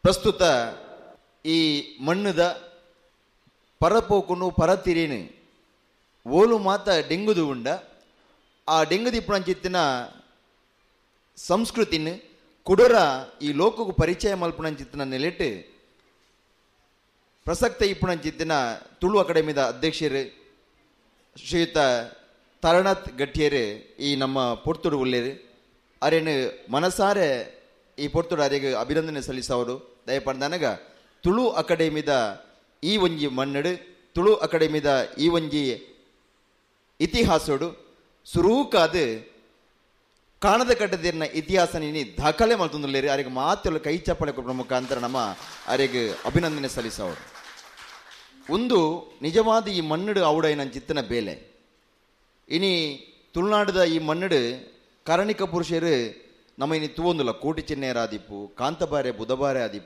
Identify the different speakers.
Speaker 1: ಪ್ರಸ್ತುತ ಈ ಮಣ್ಣುದ ಪರಪೋಕುನು ಪರತಿರಿನು ಓಲು ಮಾತ ಡೆಂಗುದು ಉಂಡ ಆ ಡೆಂಗುದಿಪ್ಪುನಂಚಿತ್ತಿನ ಸಂಸ್ಕೃತಿನ ಕುಡೊರ ಈ ಲೋಕకు ಪರಿಚಯ ಮಲ್ಪುನಂಚಿತ್ತಿನ ನೆಲೆಟ್ ಪ್ರಸಕ್ತ ಇಪ್ಪುನಂಚಿತ್ತಿನ ತುಳು ಅಕಾಡೆಮಿದ ಅಧ್ಯಕ್ಷರು ಶ್ರೀಯುತ ತಾರನಾಥ್ ಗಟ್ಟಿಯರು ಈ ನಮ್ಮ ಪೊರ್ತುಡು ಉಲ್ಲೇರು. ಅರೇನು ಮನಸಾರೆ ಈ ಪೊರ್ತುಡು ಅರೆಗ್ ಅಭಿನಂದನೆ ಸಲ್ಲಿಸವರು. ದಯಪಂಡನಗ ತುಳು ಅಕಾಡೆಮಿದ ಈ ಒಂಜಿ ಮಣ್ಣಡು, ತುಳು ಅಕಾಡೆಮಿದ ಈ ಒಂಜಿ ಇತಿಹಾಸೋಡು ಸುರೂಕಾದ ಕಾಣದ ಕಟ್ಟದಿರ್ನ ಇತಿಹಾಸ ನೀನಿ ದಾಖಲೆ ಮಲ್ತೊಂದುಲ್ಲೇರು. ಅರೆಗ್ ಮಾತೆಲ್ಲ ಕೈ ಚಪ್ಪಳೆ ಕೊರ್ಪುನ ಮುಖಾಂತರ ನಮ್ಮ ಅರೆಗ್ ಅಭಿನಂದನೆ ಸಲ್ಲಿಸವರು. ಒಂದು ನಿಜವಾದ ಈ ಮಣ್ಣಡು ಅವಡೈನಂಚಿತ್ತಿನ ಬೇಲೆ. ಇನಿ ತುಳುನಾಡದ ಈ ಮಣ್ಣಡು ಕಾರಣಿಕ ಪುರುಷರು ನಮ್ಮ ಇನಿ ತೂವೊಂದುಲ್ಲ. ಕೋಟಿ ಚೆನ್ನೆಯರ ಆದಿಪ್ಪು, ಕಾಂತಬಾರೆ ಬುಧಬಾರೆ ಆದಿಪ್ಪು.